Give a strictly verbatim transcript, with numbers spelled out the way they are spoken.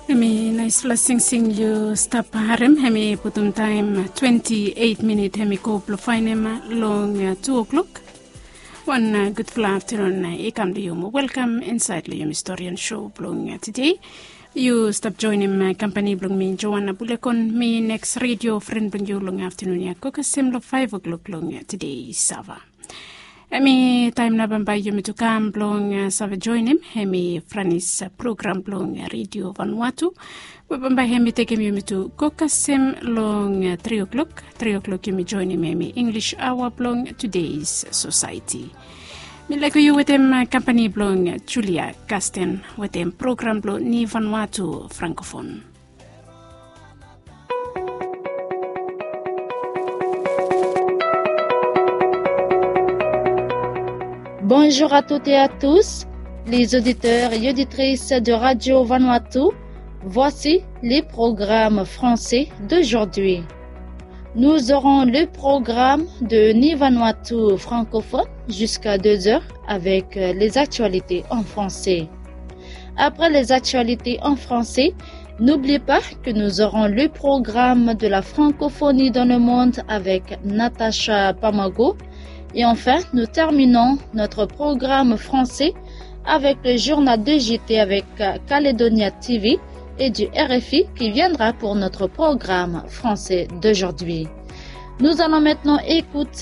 Hemi naispela singsing yu stap harem, hemi putum taem twenti eit minit hemi go blong faenem long tu o'klok. Wan gudfala aftenun i kam long yu mo welkam insaed long yumi storian sou blong tede. Yu stap joenem kampani blong mi Joana Bulekon, mi neks redio fren blong yu long aftenun ya go kasem long faef o'klok long tede sava. Hemi taem nao bambae yumi tu kam blong save joenem hemi Franis program blong redio Vanuatu, we bambae hemi tekem yumi tu go kasem long tri o'klok. Tri o'klok yumi joenem hemi Inglis aoa blong Tudeis Sosaeti. Mi laek yu wetem kampani blong Julia Kasten wetem program blong Ni Vanuatu Frankofon. Bonjour à toutes et à tous, les auditeurs et auditrices de Radio Vanuatu. Voici les programmes français d'aujourd'hui. Nous aurons le programme de Ni Vanuatu francophone jusqu'à deux heures avec les actualités en français. Après les actualités en français, n'oubliez pas que nous aurons le programme de la francophonie dans le monde avec Natacha Pamago. Et enfin, nous terminons notre programme français avec le journal de J T avec Caledonia T V et du R F I qui viendra pour notre programme français d'aujourd'hui. Nous allons maintenant écouter